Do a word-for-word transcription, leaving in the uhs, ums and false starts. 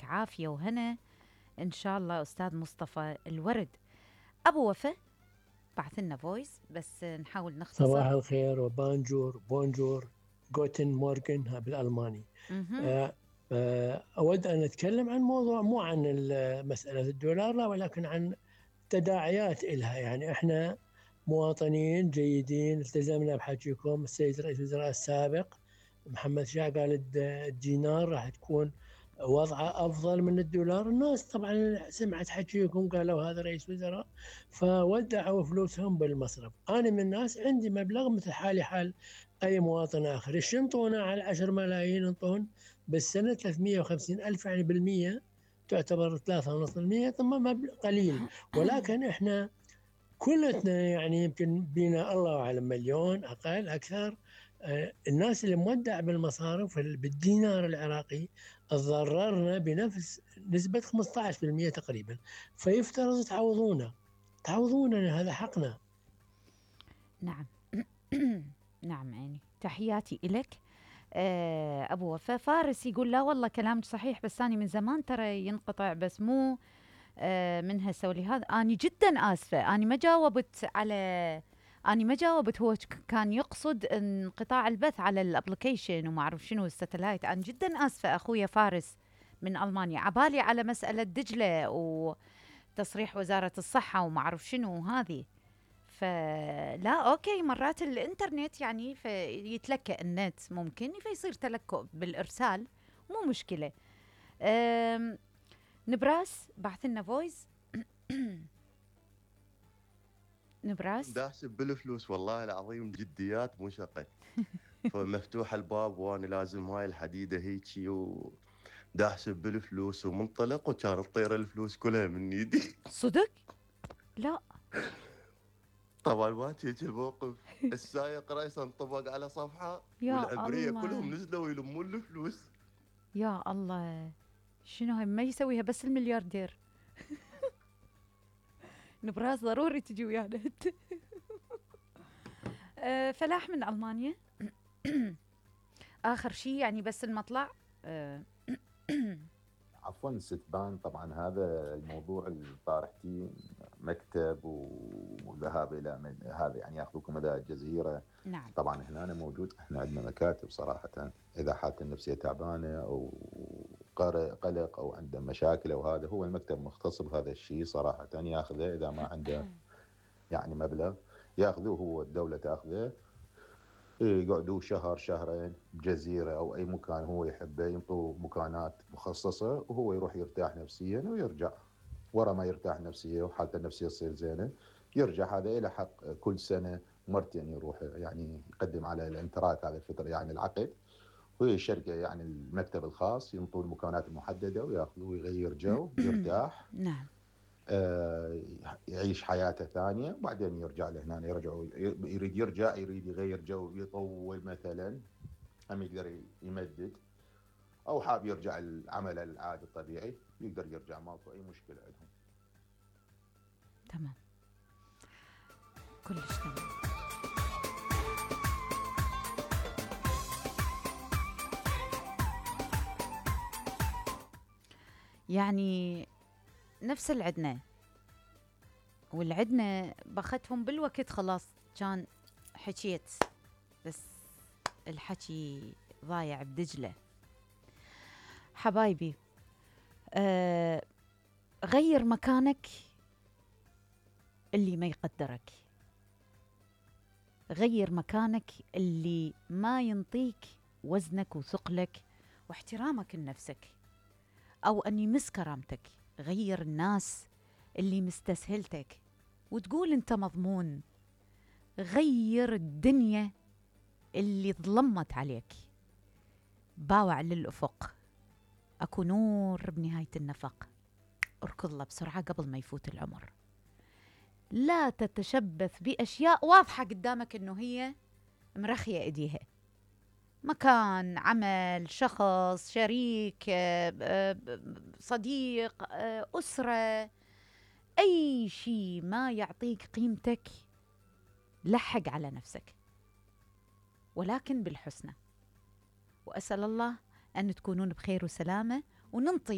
عافية وهنا إن شاء الله. أستاذ مصطفى الورد. أبو وفاء بعث لنا فويس بس نحاول نختصر. صباح الخير وبانجور بونجور جوتن مورغن بالألماني. آه آه أود أن أتكلم عن موضوع مو عن مسألة الدولار لا، ولكن عن تداعيات إلها. يعني إحنا مواطنين جيدين التزمنا بحكيكم. السيد رئيس الوزراء السابق محمد شاه قال الدينار راح تكون وضعه أفضل من الدولار. الناس طبعا سمعت حكيكم قالوا هذا رئيس وزراء فودعوا فلوسهم بالمصرف. أنا من الناس عندي مبلغ مثل حالي حال أي مواطن آخر. إيش ينطونا على عشر ملايين؟ ينطون بالسنة ثلاثمئة وخمسين ألف، يعني بالمية تعتبر ثلاثة ونص المية. ثم مبلغ قليل، ولكن إحنا كلتنا يعني يمكن بينا الله أعلم مليون أقل أكثر. آه الناس اللي مودع بالمصارف بالدينار العراقي تضررنا بنفس نسبة خمسة عشر بالمئة تقريبا. فيفترض تعوضونا تعوضونا هذا حقنا. نعم. نعم عيني، تحياتي إلك. آه أبو وفاء. فارس يقول لا والله كلامك صحيح، بس أنا من زمان ترى ينقطع، بس مو آه من هسه ولهذا أنا جدا آسفة. أنا ما جاوبت على أنا ما جاوبت هو كان يقصد انقطاع البث على الابليكيشن وما أعرف شنو الستلايت. أنا جدا آسفة أخويا فارس من ألمانيا، عبالي على مسألة دجلة وتصريح وزارة الصحة وما أعرف شنو هذه. فلا أوكي، مرات الإنترنت يعني فيتلكأ النت ممكن فيصير تلكؤ بالإرسال، مو مشكلة. نبراس بعث لنا فويس. نبراس داحسب بالفلوس والله العظيم جديات مو شقة. فمفتوح الباب وانا لازم هاي الحديدة هيجي وداحسب بالفلوس ومنطلق، وكان تطير الفلوس كلها من ايدي. صدق؟ لا طبعا ما تيجي الموقف. السايق رئيس انطبق على صفحة والعبرية كلهم نزلوا يلمون الفلوس. يا الله، شنو هاي ما يسويها بس الملياردير. نبراس ضروري تجي ويانا. أه فلاح من ألمانيا. آخر شيء يعني بس المطلع. أه عفوا ستبان، طبعا هذا الموضوع اللي طارحتيه مكتب وذهاب الى من هذا يعني ياخذوكم مدى الجزيره. نعم. طبعا هنا أنا موجود، احنا عندنا مكاتب صراحه، اذا حالته النفسيه تعبانه او قلق او عنده مشاكل او هذا، هو المكتب مختص بهذا الشيء صراحه، ياخذه اذا ما عنده يعني مبلغ ياخذوه، هو الدوله تاخذه، يقعدوا شهر شهرين بجزيرة أو أي مكان هو يحبه، ينطوه مكانات مخصصة وهو يروح يرتاح نفسيا ويرجع. ورا ما يرتاح نفسيا وحالته النفسية تصير زينة يرجع. هذا إلى حق كل سنة مرتين يروح يعني يقدم على الانتراك هذا الفترة يعني العقد، وهي الشركة يعني المكتب الخاص ينطوه المكانات المحددة وياخذوه ويغير جو يرتاح. نعم. آه يعيش حياته ثانية وبعدين يرجع لهنا. يرجع يريد يرجع يريد يغير جو يطول مثلا، هم يقدر يمدد، أو حاب يرجع العمل العادي الطبيعي يقدر يرجع، ماكو أي مشكلة عندهم. تمام، كلش تمام. يعني نفس العدنا والعدنا بختهم بالوقت، خلاص كان حكيت بس الحكي ضايع بدجلة. حبايبي، آه غير مكانك اللي ما يقدرك، غير مكانك اللي ما ينطيك وزنك وثقلك واحترامك لنفسك أو أن يمس كرامتك. غير الناس اللي مستسهلتك وتقول أنت مضمون. غير الدنيا اللي ظلمت عليك. باوع للأفق، أكو نور بنهاية النفق. اركض له بسرعة قبل ما يفوت العمر. لا تتشبث بأشياء واضحة قدامك أنه هي مرخية إيديها. مكان، عمل، شخص، شريك، صديق، أسرة، أي شيء ما يعطيك قيمتك لحق على نفسك، ولكن بالحسنى. وأسأل الله أن تكونون بخير وسلامة وننطي